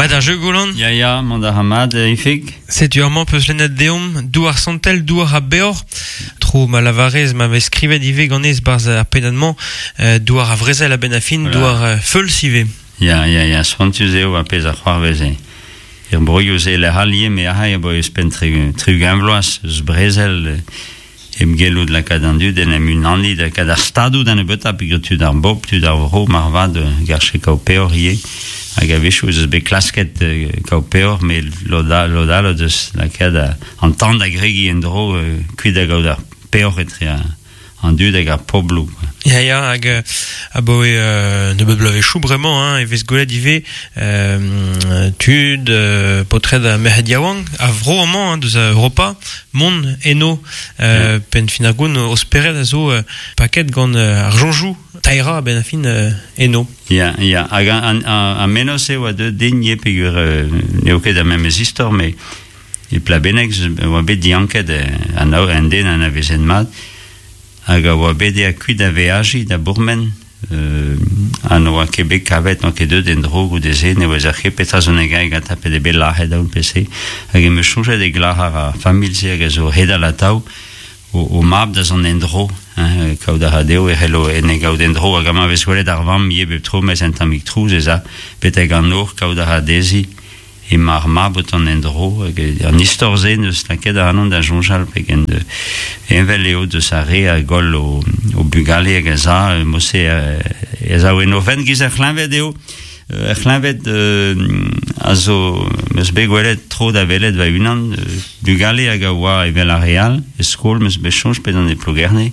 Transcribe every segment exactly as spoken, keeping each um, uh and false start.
Mat ar jeu Golan? Ya, ya, mont a ra mat, Ifig. Setu amañ peus lennet deomp, douar santel, douar a beoc'h. Tro ma lavarez, ma vez skrivet ivez ganez barzh ar pennad-mañ, euh, douar a vrezel a-benn a fin, Voilà. douar euh, feuls ivez. Ya, ya, ya, spontus eo a pezh a c'hoarvez e. Er broioù ze lec'h allie, me a a bo eus pen tri, tri-ugent vloaz, eus brezel, euh, em gellout lakaat an dud en em unani da kad ar stadoù da nebeutañ peogwir tud ar bobl, tud ar vro, marvat, euh, garche kaout peoc'h ivez. Hag a-wechoù ez eus bet klasket euh, kaout peoc'h, met lod all, lod all o deus lakaat a, an tan da gregiñ en-dro euh, kuit da gaout ar peoc'h etre a, an dud hag ar pobloù, quoi. Ya, ya, hag euh, abaoe euh, nebeut bloavezhioù bremañ, hein, e vez gwelet ivez euh, tud, euh, paotred ha merc'hed yaouank, a vro amañ, hein, deus a Europa, mont eno, euh, penn fin ar goun, o spered a zo euh, paket gant euh, ar soñjoù, taera a-benn ar fin euh, eno. Ya, ya, hag an, an, an menoz eo a deu din ivez peogwir euh, n'eo ket ar memes istor, met e Plabenneg oa bet dianket euh, an, an den anavezet mat, hag a oa bet ea kuit da veajiñ da bourmen, euh, ha n'oa ket bet kavet, n'oa ket deuet en-dro goude-se, ne ouezer ket petra zo negai ganta pe de bet lazhet aoun pe se, hag em eus soñjet e glac'har ar familh-se hag a zo hedal atav, o, o mab da zont en-dro, hein, kaout a ra dezho e c'hello en e gaout en-dro, hag amañ vez gwelet ar vamm ivez bep tro, mes un tammig trouz ez a, betek an nor, kaout a ra dezhi, emañ ar mab o tont en-dro, hag an istor-se neus lakaet ac'hanon da soñjal pegen de, envel eo deus ar re a goll o, o bugale hag a za, mod-se ez a en o fenn giz ar c'hleñved eo. Ar c'hleñved euh, a zo, meus bet gwelet tro da welet va unan, euh, bugale hag a oa evel ar re all, e skol meus bet soñj bet an e Plougerne,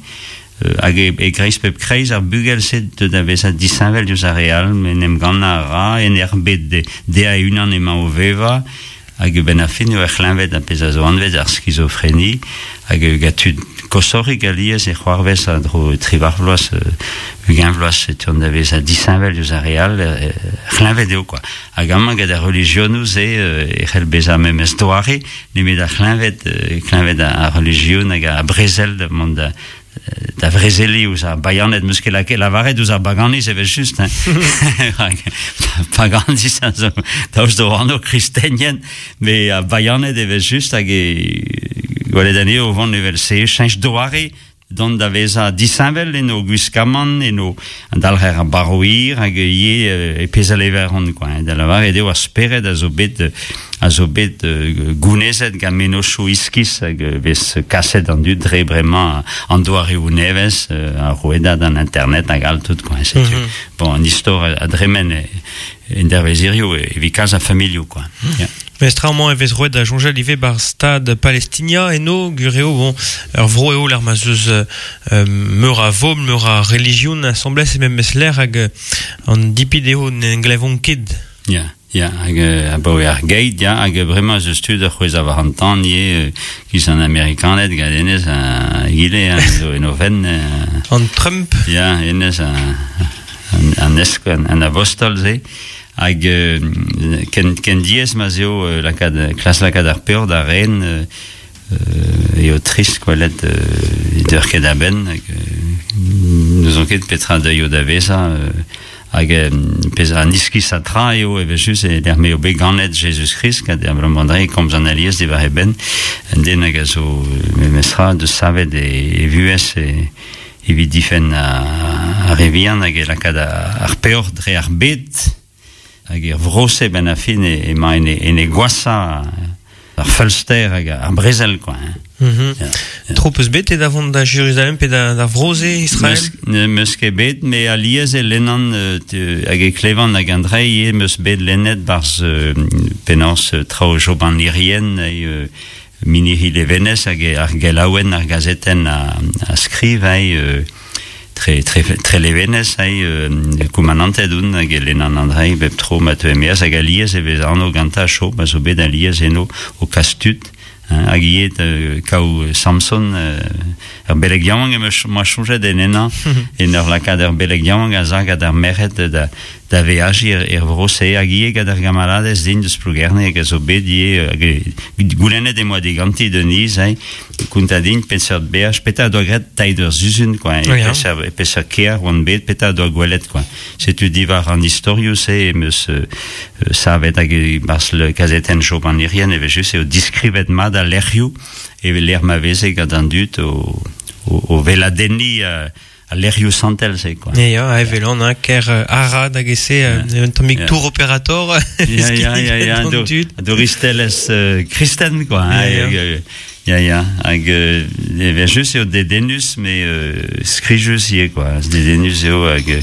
euh, hag e, e kreiz pep kreiz ar bugel-se deut da vezañ disheñvel diouzh ar re all, en em gannañ a ra, en er bet de, dezhañ e-unan emañ o vevañ, hag ben ar fin eo ar c'hleñved ar pezh a zo anvet ar skizofreni, hag gant tud koshoc'hik alies e c'hoarvez a dro triwac'h vloaz, euh, ugent vloaz e teuont da vezañ disheñvel diouzh ar re all, euh, c'hleñved eo, quoi. Hag amañ gant ar relijionoù se euh, e c'hell bezañ memes doare, nemet ar c'hleñved, euh, kleñved ar relijion hag ar brezel da mont da, da vrezeliñ ouzh ar bayaned, meus ket lakaet lavaret ouzh ar baganiz evel just, hein. Paganiz a zo daoust d'o anv kristenien, met ar bayaned evel just hag e gwelet anezho o vont evel se, cheñch doare dont da vezañ disheñvel en o gwiskamant, en o an dalc'her ar barv-hir hag ivez euh, e pezh a leveront, quoi, hein. Da lavaret eo ar spered a zo bet, a zo bet euh, gounezet gant mennozhioù iskis hag euh, vez kaset an dud dre bremañ an doareoù nevez, euh, ar rouedad an internet hag all tout, quoi, setu. Mm-hmm. Bon, an istor a dremen e, en dervezirioù e evit kalz a familhoù, quoi. Mm. Ya. Mes tra amañ e vez roet da soñjal ivez bar stad Palestinia eno, gureo, bon, ur vro eo l'ar ma zeus euh, meur a vobl, meur a relijion asambles e memes lec'h hag an dipit eo n'en glevont ket. Ya, ya, hag euh, abaoe ar geit, ya, hag bremañ zeus tud ar c'hwez a war an tan ivez, euh, giz an Amerikaned gant hennezh a egile, hein, zo en o fenn, euh, An Trump. Ya, hennezh a, an, an esk, an, an abostol se. Hag euh, ken, ken diaes ma 'z eo euh, lakaat, klas lakaat ar peoc'h da ren, euh, euh, eo trist gwelet euh, deur ket a-benn, hag euh, n'ouzon ket petra deuio da vezañ, euh, hag euh, pezh an iskis a tra eo evel just e lec'h m'eo bet ganet Jezuz-Krist, gant ar abalamour komz an alies diwar e benn, un den hag a zo memestra deus savet e, e vuhez e, evit difenn ar, ar re vihan hag e lakaat ar peoc'h dre ar bed, hag er vro-se ben a fin e, emañ en e, en e gwashañ ar feulster hag ar brezel, quoi, hein. Mm-hmm. Ya, ya. Tro peus bet e da vont da Jérusalem pe da, da vro-se Israël? Meus, ne meus ket bet, me alies e lennan euh, te, hag e klevan hag an drei ivez meus bet lennet barz euh, penaos euh, traoù Job an Irien e euh, Minihi Levenez hag ar gelaouenn ar gazetenn a, a skriv hei, euh, tre, tre, tre Levenez hei, euh, koumanantet oun hag e lennan an drei bep tro ma teu emeaz hag alies e vez anv gantañ Job a zo bet alies eno o kas tud, hein, hag ivez euh, kaou Samson, euh, ur beleg yaouank em eus moa soñjet en ennañ, en ur lakaat ur beleg yaouank a zag ad ar merc'hed da, da veaji er, er vro-se hag ivez gant ar gamaradez din deus Plougerne hag a zo bet ivez hag goulennet eo diganti Denise hein konta din peseurt beaj petra doa graet teir ur zuzun quoi Oui, hein. peseurt peseurt kêr oan bet petra doa gwelet quoi setu diwar an istorioù-se em eus euh, euh, savet hag e-barzh le kazetenn Job an Irien evel just eo diskrivet mat al lec'hioù evel lec'h ma veze gant an dud o, o, o veladenniñ euh, al lec'hioù santel se quoi. Ya, ya, evel an, hein, ker euh, Arad hag ese, euh, un tammig Yeah. tour operator, Ya, ya, ya, ya, an do, dud. douristelezh euh, kristen quoi. Hein, Ya, ya. hag, euh, ya, ya, hag euh, evel just eo dedennus, mais euh, skrijus ivez quoi. Dedennus eo hag euh,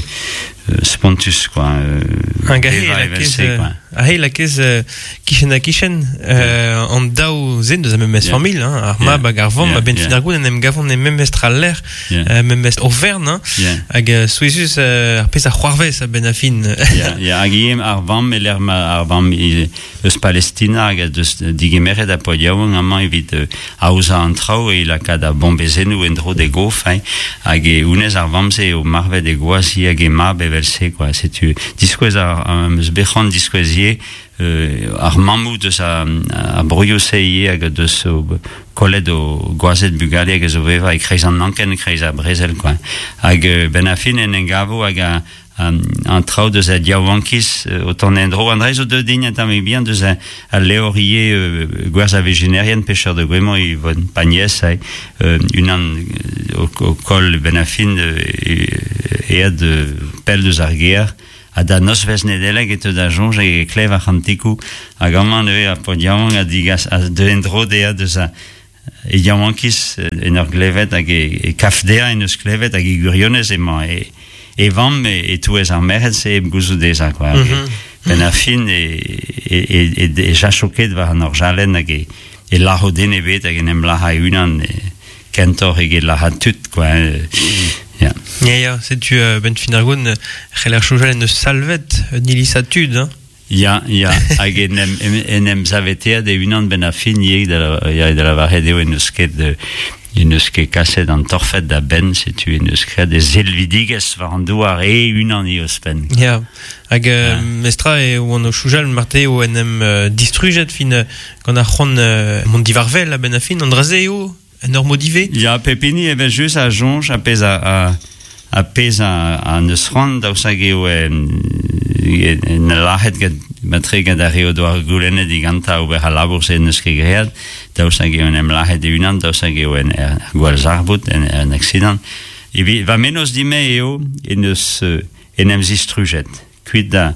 spontus quoi. Euh, Hag ahe bevañ lakez, evel-se, euh, quoi. ahe lakez euh, kichen ha kichen, euh, an daou zen deus a memes Yeah. familh, hein, ar mab Yeah. hag ar vamm, Yeah, a ben yeah. fin ar gout en em gavont e memes tra lec'h, Yeah. euh, memes overn, hein, Yeah. hag euh, souezhus euh, ar pezh a c'hoarvez a ben a fin. Ya, ya, hag ivez ar vamm e lec'h ma ar vamm i- eus Palestina hag a deus digemeret a paotr yaouank amañ evit euh, aozañ an traoù e lakaat ar bombezennoù en-dro d'e gof, hein, hag e honnezh ar vamm-se eo marvet e gwaz hi hag e mab evel-se, quoi. Setu diskouez ar, am eus bet c'hoant diskouez ivez, euh, ar mammoù deus a, a broioù-se ivez hag deus o kollet o gwazed bugale hag a zo vevañ e-kreiz an anken, e-kreiz ar brezel, quoi. Hag euh, ben a fin en engavo hag a, an, an traoù deus a diaouankiz euh, o tont en-dro. An dra zo deuet din un tammig bihan deus a, a levr ivez euh, gwerz a vezhinerien pêcheur de goémon Yvonne Pagnès, hein, euh, unan euh, o, o koll ben a fin euh, aet euh, pell deus ar gêr, ha da nozvezh Nedeleg e teu da soñj hag e klev ar c'hantikoù hag amañ neuze ar paotr yaouank a digas a deu en-dro dezhañ deus a e yaouankiz en ur glevet hag e, e kaf dezhañ en eus klevet hag e gwirionez emañ e, e vamm e, e-touez ar merc'hed-se hep gouzout dezhañ quoi. Hag e, Mhm. ben ar fin e, e, e, e, e jacho ket war an orjalenn hag e, e lâro den ebet hag en em lâra e-unan e, kentoc'h eget lârat tud quoi. Euh, ya. Ya, ya, setu euh, ben fin ar gout, c'heller soñjal en eus salvet un iliz a tud, hein. Ya, ya, hag en em, en em saveteet e-unan ben ar fin ivez da, ya, da lavaret eo en eus ket euh, en eus ket kaset an torfed da benn, setu en eus graet e silvidigezh war an douar e-unan ivez ouzhpenn. Ya, hag euh, Ya. mestra e oan o soñjal marte eo en em euh, distrujet fin euh, gant ar c'hoant euh, mont divarvel a ben a fin, an dra-se eo, en ur mod ivez. Ya, pep hini evel just a soñj a pezh a, a, a pezh a, a neus c'hoant daoust hag eo en, en lâret gant matre gant ar re o doa goulennet digantañ ober al labour-se n'eus ket graet, daoust hag eo en em lâret e-unan, daoust hag eo en er, er gwallzarvoud, en, en accident. Evit, va mennozh din-me eo en eus euh, en em zistrujet, kuit da,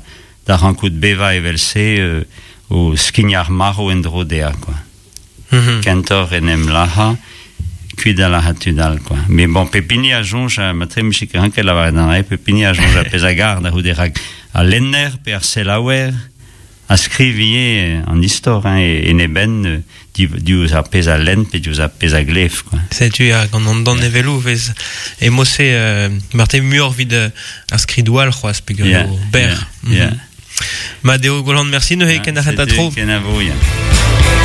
da rankout bevañ evel-se euh, o skignañ ar marv en-dro dezhañ, quoi. Mhm. Kentoc'h en em lazhañ, kuit da lazhañ tud all, quoi. Mais bon, pep hini a soñj, a matre 'mije ket ranket lavaret an dra, pep hini a soñj a pezh a gar da c'houde rak al lenner pe ar selaouer a skriv ivez an istor, hein, e, en e benn euh, div- diouzh ar pezh a lenn pe diouzh ar pezh a glev, quoi. Setu ya, gant an danevelloù vez e mod-se euh, marte muioc'h evit euh, ar skridoù all c'hoazh peogwir Ya, eo berr. ya, ya. Mhm. Ma deo Golan, merci neuze, ken ar c'hentañ setu, tro. Kenavo, ya.